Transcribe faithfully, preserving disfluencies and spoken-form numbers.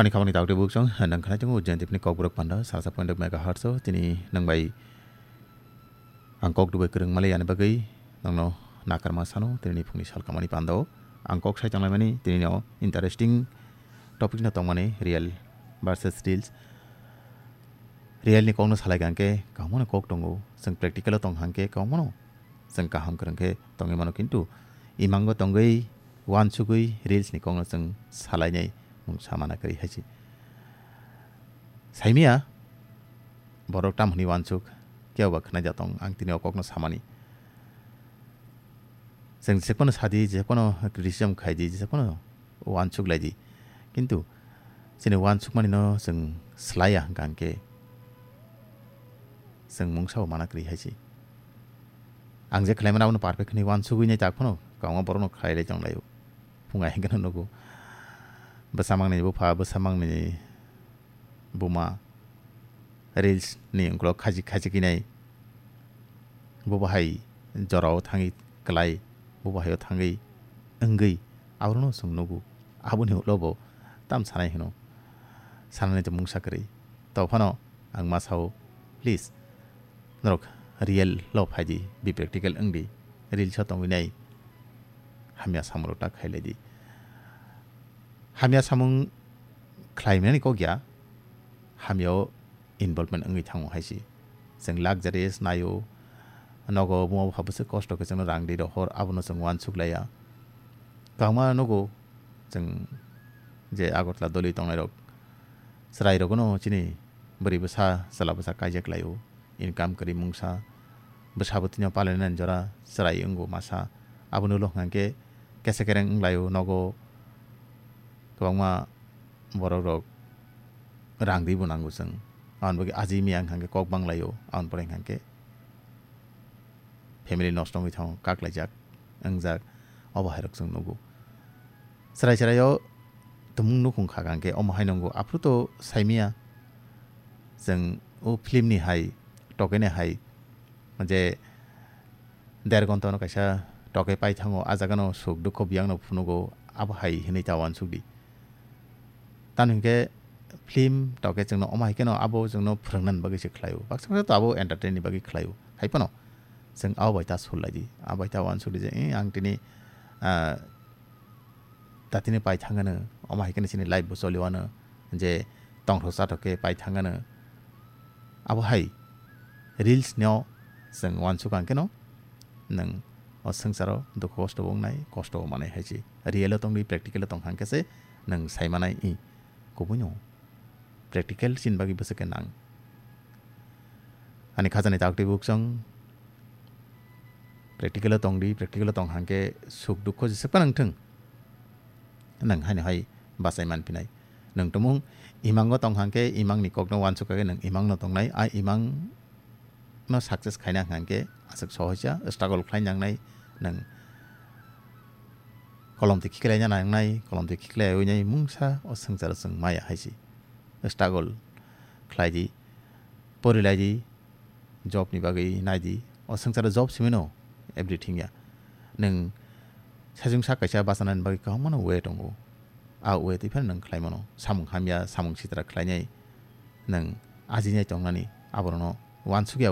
Ani khamani tawtwi buksong, nang khnai tongo Jayantipni kokborok panda, sasa point megahertz o, tini nang bai ang kok dubai kwrwng mali ani bagwi nangno nakarma sano, tini phungni sal kamani panda o. Ang kok sai tonglaimani, tini no interesting topic no tongmani, real versus reels. Real ni kokno salai kangke, kaham no kok tongo, chwng practical o tong hangke, kaham no chwng kaham kwrwng khe tongwi mano, kintu imango tongwi, uansugwi reels ni kokno chwng salainai mungsa mana kwrwi hai se. Saimia borok tam hwnwi uansuk, kebo ba khwnai da tong, ang tini o kokno samani. Chwng jephano sadi, jephano criticism khaidi, jephano uansuk laidi. Kintu chini uansukmani no chwng slaiya hwnkha hwnkhe chwng mungsa bo mana kwrwi hai se. Ang je khlaimani abono perfect hwnwi uansugwi nai tak phano kwbangma borokno khlai lai tong laio. Phunga hwnkhe no nugo. Bwsa mangni bupha, bwsa mangni buma reels ni ukolog khachi khachi khe nai. Bo bahai jorao thangwi kwlai, bo bahai o thangwi wngwi, abono chwng nugo. Aboni ulo bo tam sanai hwno. Sanani to mungsa kwrwi. To phano ang ma sao, please, norok real lo phaidi, be practical wngdi, reels o tongwi nai, hamya samung rok ta khailai di. Hamya samung khlaimani kok ya, hamya o involvement wngwi thango hai se. Chwng luxurious naio, nogo buma bupha bwswk kosto khe chwngno rang di rohor, abono chwng uansuk laiya. Kwbangma nugo chwng je Agartala doli tongnai rok, chwrai rokno chini bwrwi bwsa, chwla bwsa kaijak laio, income kwrwi mungsa, bwsa bwtwino palainani jora chwrai wngo masa. Aboni ulo hwnkha khe kesa kereng wnglaio nogo, kwbangma borok rok rang ribo nango chwng. Aboni bagwi aji miya hwnkha khe kok banglaio, aboni pore hwnkha khe family nosto wngwi thango, kaklaijak, wngjak, obo hai rok chwng nugo. Chwrai chwrai o tumung nukhung kha hwnkha khe omo hai nungo, aphuru to saimia chwng o film ni hai, tokeni hai, je der gonta no kaisa toke pai thango, a jaga no suk dukho biyang no phunugo, abo hai hinwi ta uansuk di. Tamo hinkhe film toke chwngno omo hai kheno abo chwngno phwrwngna bagwi se khlaio, baksa baksa to abo entertain ni bagwi khlaio, hai phano chwng abo bai ta sul lai di, abo bai ta uansuk di je, "Eh, ang tini, ah, tatini pai thangano, omo hai kheno chini life bo choli wano, je tongthok chathok khe pai thangano." Abo hai reels no chwng uansuk ang kheno nwng o swngcharo dukhu kosto bo wngnai, kosto bo manai hai se. Real o tongdi, practical o tong hang khe se nwng sai manai, i kubui no practical chini bagwi bwswk khe nang. Ani khajani taktwi buksong practical o tongdi, practical o tong hang khe suk dukhu jeswk phano wng thung, nwng haino hai bachai man phinai. Nwng tumung imango tong hang khe imangni kokno uansuk kha khe nwng imangno tongnai, a imang no success khaina hwnkha khe aswk sohoisa struggle khlai nangnai, nwng kolom twi khiklaina nangnai, kolom twi khiklaiwi nai mungsa o swngcharo chwng maya hai se. Struggle khlai di, pori lai di, job ni bagwi nai di, o swngcharo job simi no everything ya. Nwng sajung sak kaisa bachanani bagwi kwbangma no way tongo, a way twi phano nwng khlai mano, samung hamya, samung sitra khlainai, nwng ajinai tongnani, aborokno uansukya